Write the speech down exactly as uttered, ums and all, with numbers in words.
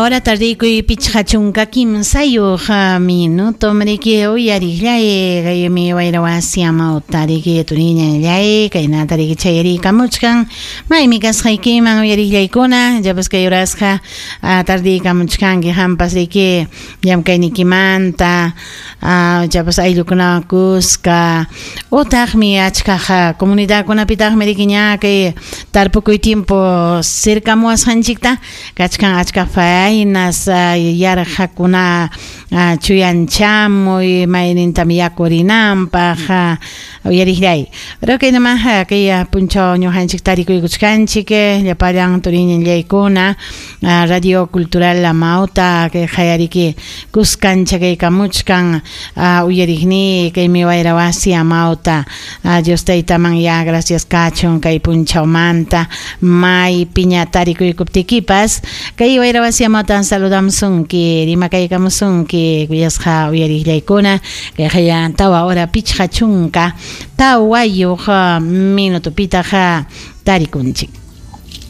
Hora tardiykuy pichqa chunka kimsayuq minuto mriki uyariqllay kaymi wayra wasi amawta riki turiñanllay kaynata riki chayariykamuchkan maymi kasqaykiman uyariqllaykuna llapas kay horasqa tardiykamuchkanki qampas riki llamkayniykimanta llapas ayllukunawan kuska utaqmi achkaq comunidadkunapitaqmi riki ña kay tarpukuy tiempo cercamuwasqanchikta kachkan achka faenas yarqakuna chuyanchamuy maynintam yakurinanpaq uyariqllay pero kaynama kay punchaw ñuqanchik tarikuykuchkanchik llapallan turiñanllaykuna Radio Cultural Amauta kay qayariki kuskancha kaykamuchkan uyariqni kaymi wayra wasi Amauta Dios taytaman ya gracias kachun kay punchawmanta maypiña tarikuykuptikipas kay wayra wasi Amautan saludamusunki rimakaykamusunki kuyasqa uyariqllaykuna kay qaya tawa hora pichqa chunka tawayuq minutopitaq tarikunchik.